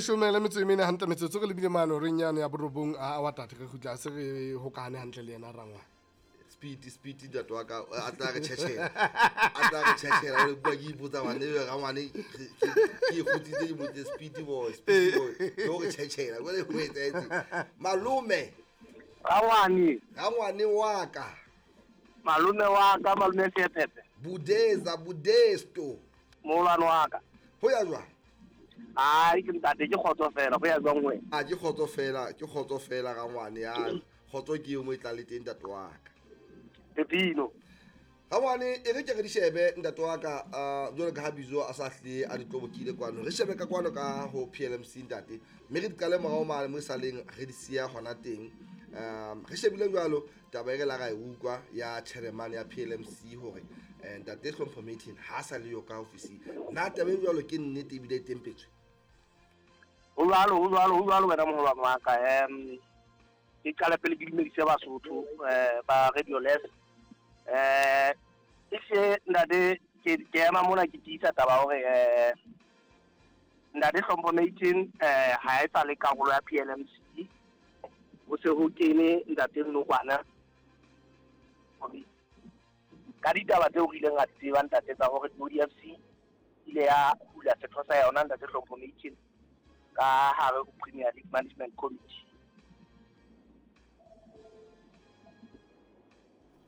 14:44 metsotso re lebile mane horeng yane ya borobong a wa tate re kgutla se re hokahane hantle le yena rangwane. Speed speed ntate wa ka a tla re tjhetjhela, a tla re tjhetjhela o bua ke ipotsa bane ebe rangwane ke e kgutsitse ke botse speed boy, speed boy ke o re tjhetjhela jwale ho etsahetse malome. Rangwane. Rangwane wa ka. Malome wa ka, malome Sepepe. Budeza budesto. Moholwane wa ka. Ho ya jwang? Ai ke ntate ke kgotso fela, ho ya jwang wena? A ke kgotso fela, ke kgotso fela rangwane ya. Kgotso ke eo mo e tlang le teng ntate wa ka. Pepino. Rangwane e re ke re di shebe ntate wa ka, jwalo ka ha Bizo a sa hle a di tlobokile kwano. Re shebe ka kwano ka ho PLMC ntate, mme re di qale morao mane mo e saleng re di siya hona teng. Re shebile jwalo taba e re la ra e utlwa ya chairman ya PLMC hore ntate Hlompho Martin ha sa le yo ka ofising. Na taba e jwalo ke nnete ebile e tempetswe? Ho jwalo, ho jwalo, ho jwalo wena moholwane wa ka. Ke qale pele ke dumedise Basotho ba Radio Les. E se ntate ke ema mona ke tiisa taba hore ntate Hlompho Martin ha e sa le karolo ya PLMC. Ho se ho kene ntate Nnokwana ka ditaba tseo re ileng ra di tseba ntate tsa hore ODFC ile ya hula setho sa yona ntate Hlompho Martin ka hare ho Premier League Management Committee.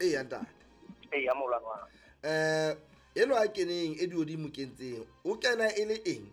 Eya ntate. Eya moholwane wa ka. Eno a keneng e di mo kentseng, o kena e le eng?